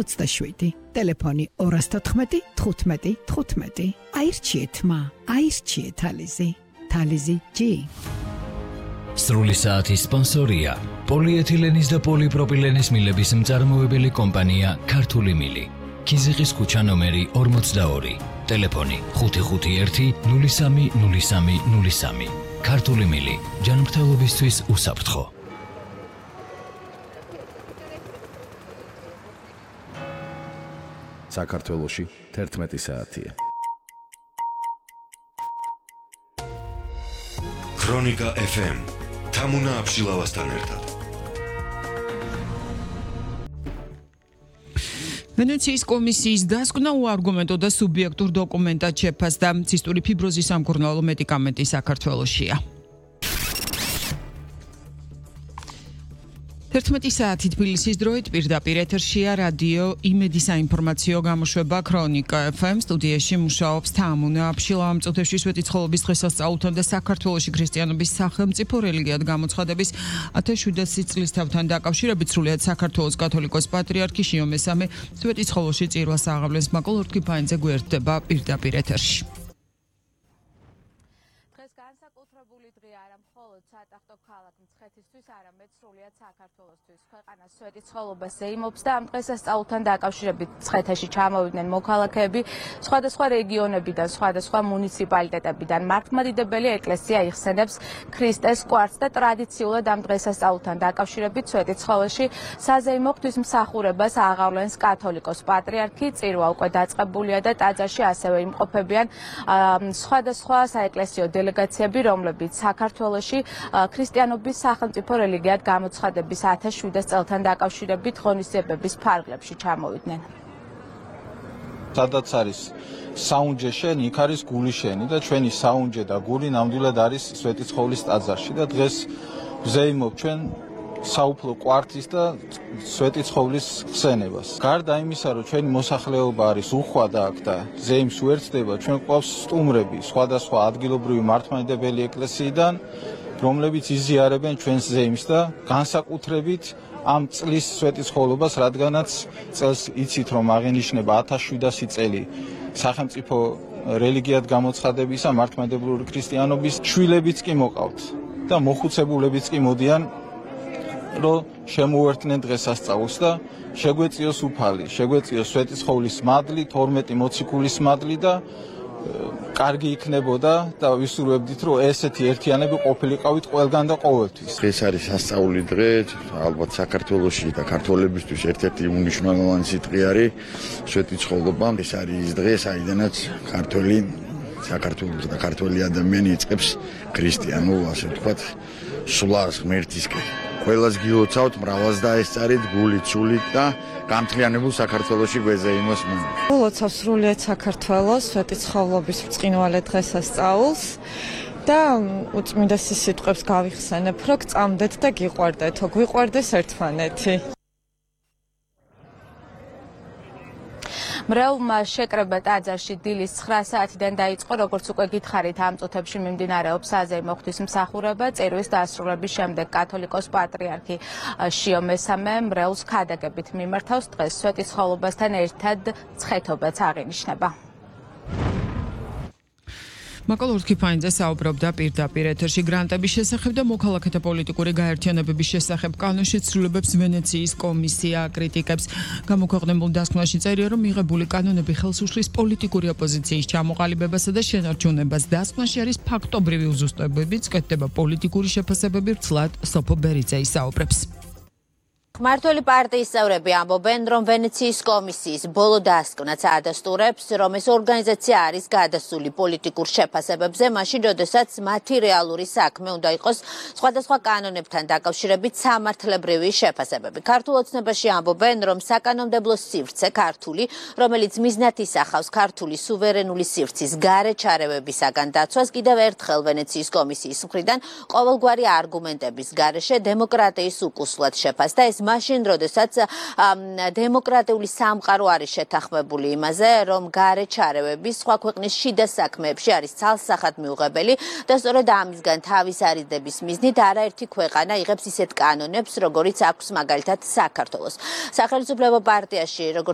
27. Telefoni 214 15 15. Აირჩიეთ მა, აირჩიეთ თალიზი. თალიზი G. სრული საათის სპონსორია პოლიეთილენის და პოლიპროპილენის მილების მწარმოებელი კომპანია ქართული მილი. ქიზიყის ქუჩა ნომერი 42. Telefoni 551 03 03 03. ქართული მილი ჯანმრთელობისთვის უსაფრთხო. საქართველოში 11 საათია. ქრონიკა FM თამუნა აბშილავასთან ერთად. ვენეციის კომისიის დასკვნა უარგუმენტო და სუბიექტურ დოკუმენტად შეფასდა ცისტური ფიბროზის სამკურნალო მედიკამენტი საქართველოშია. 11 საათი თბილისის დროით პირდაპირ ეთერშია რადიო იმედი საინფორმაციო გამოშვება ქრონიკა FM. სტუდიაში მუშაობს თამუნა აბშილავა. მწუთებში სვეტიცხოვლობის დღესასწაულთან და საქართველოში ქრისტიანობის სახელმწიფო რელიგიად გამოცხადების 1700 წლისთავთან დაკავშირებით სრულიად საქართველოს კათოლიკოს პატრიარქი შიო მესამე სვეტიცხოვლოში წირვას აღავლენს. მაკოლ ორთქიფაინძე გვერდება პირდაპირ ეთერში. სატახტო ქალაქ მცხეთისთვის არამედ სრულიად საქართველოსთვის ქვეყანას სვეტიცხოვლობას ეიმობს და ამ დღესასწაულთან დაკავშირებით მცხეთაში ჩამოვიდნენ მოქალაქეები სხვადასხვა რეგიონებიდან, სხვადასხვა მუნიციპალიტეტებიდან. მართლმადიდებელი ეკლესია იხსენებს ქრისტეს კვართს და ტრადიციულად ამ დღესასწაულთან დაკავშირებით სვეტიცხოვლში საზეიმო ღვთისმსახურებას აღავლენს კათოლიკოს პატრიარქი. წირვა უკვე დაწყებულია და ტაძარში ასევე იმყოფებიან სხვადასხვა საეკლესიო დელეგაციები, რომლებიც საქართველოში ქრისტიანობის სახელმწიფო რელიგიად გამოცხადების 1700 წელთან დაკავშირებით ღონისძიებების ფარგლებში ჩამოვიდნენ. სადაც არის საუნჯე შენი, იქ არის გული შენი და ჩვენი საუნჯე და გული ნამდვილად არის სვეტიცხოვლის ტაძარში და დღეს ვზეიმობ ჩვენ საუფლო კვართის და სვეტიცხოვლის ხსენებას. გარდა იმისა, რომ ჩვენი მოსახლეობა არის უხვადა აქ და ზეიმს უერთდება, ჩვენ გვყავს სტუმრები სხვადასხვა ადგილობრივი მართლმადიდებელი ეკლესიიდან, რომლებიც იზიარებენ ჩვენს ზეიმს და განსაკუთრებით ამ წლის სვეტიცხოვლობას, რადგანაც წელს იცით, რომ აღენიშნება 1700 წელი სახელმწიფო რელიგიად გამოცხადებისა, მართლმადიდებლური ქრისტიანობის. შვილებიც კი მოყავთ და მოხუცებულებიც კი მოდიან, რომ შემოუერთდნენ დღესასწაულს და შეგვეწიოს უფალი, შეგვეწიოს სვეტიცხოვლის მადლი, 12 მოციქულის მადლი და კარგი იქნებოდა და ვისურვებდით, რომ ესეთი ერთიანები ყოფილიყავით ყველგან და ყოველთვის. ეს არის სასწაული დღე, ალბათ საქართველოში და ქართველებისთვის ერთ-ერთი უმნიშვნელოვანესი დღე არის სვეტიცხოვლობა. ეს არის ის დღე, საიდანაც საქართველოს და ქართველი ადამიანი იწყებს ქრისტიანულ, ასე ვთქვათ, სვლას ღმერთისკენ. ყველას გილოცავთ, მრავალს დაესწარით, გულით, სულით და გამთლიანებულ საქართველოში გვეზეიმოს მომ. გილოცავ სრულიად საქართველოს სვეტიცხოვლობის ბრწყინვალე დღესასწაულს და უწმინდესის სიტყვებს გავიხსენებ, რომ გწამდეთ და გიყვარდეთო, გვიყვარდეს ერთმანეთი. მრევლმა შეკრება ტაძარში დილის 9 საათიდან დაიწყო, როგორც უკვე გითხარით, ამ წუთებში მიმდინარეობს საზეიმო ღვთისმსახურება. წირვის დასრულების შემდეგ კათოლიკოს პატრიარქი შიო მესამე მრევლს ქადაგებით მიმართავს. დღეს სვეტიცხოვლობასთან ერთად მცხეთობაც აღინიშნება. მაკოლ ორთქიფაინძე საუბრობდა პირდაპირ ეთერში გრანტების შესახებ და მოქალაქეთა პოლიტიკური გაერთიანებების შესახებ. კანონში ცვლილებებს ვენეციის კომისია აკრიტიკებს. გამოქვეყნებულ დასკვნაში წერია, რომ მიღებული კანონები ხელს უშლის პოლიტიკური ოპოზიციის ჩამოყალიბებასა და შენარჩუნებას. დასკვნაში არის ფაქტობრივი უზუსტებებიც, კეთდება პოლიტიკური შეფასებები. ვრცლად სოფო ბერიძე ისაუბრებს. მმართველი პარტიის წევრები ამბობენ, რომ ვენეციის კომისიის ბოლო დასკვნაც ადასტურებს, რომ ეს ორგანიზაცია არის გადასული პოლიტიკურ შეფასებებზე, მაშინ, როდესაც მათი რეალური საქმე უნდა იყოს სხვადასხვა კანონებთან დაკავშირებით სამართლებრივი შეფასებები. ქართულ ოცნებაში ამბობენ, რომ საკანონმდებლო სივრცე ქართული, რომელიც მიზნად ისახავს ქართული სუვერენული სივრცის გარე ჩარევებისაგან დაცვას, კიდევ ერთხელ ვენეციის კომისიის მხრიდან ყოველგვარი არგუმენტების გარეშე დემოკრატიის უკუსლად შეფასდა. ეს მაშინ, როდესაც დემოკრატიული სამყარო არის შეთანხმებული იმაზე, რომ გარეჩარევები სხვა ქვეყნის შიდა საქმეებში არის ცალსახად მიუღებელი და სწორედ ამისგან თავის არიდების მიზნით არაერთი ქვეყანა იღებს ისეთ კანონებს, როგორიც აქვს მაგალითად საქართველოს. სახელმწიფო პარტიაში, როგორც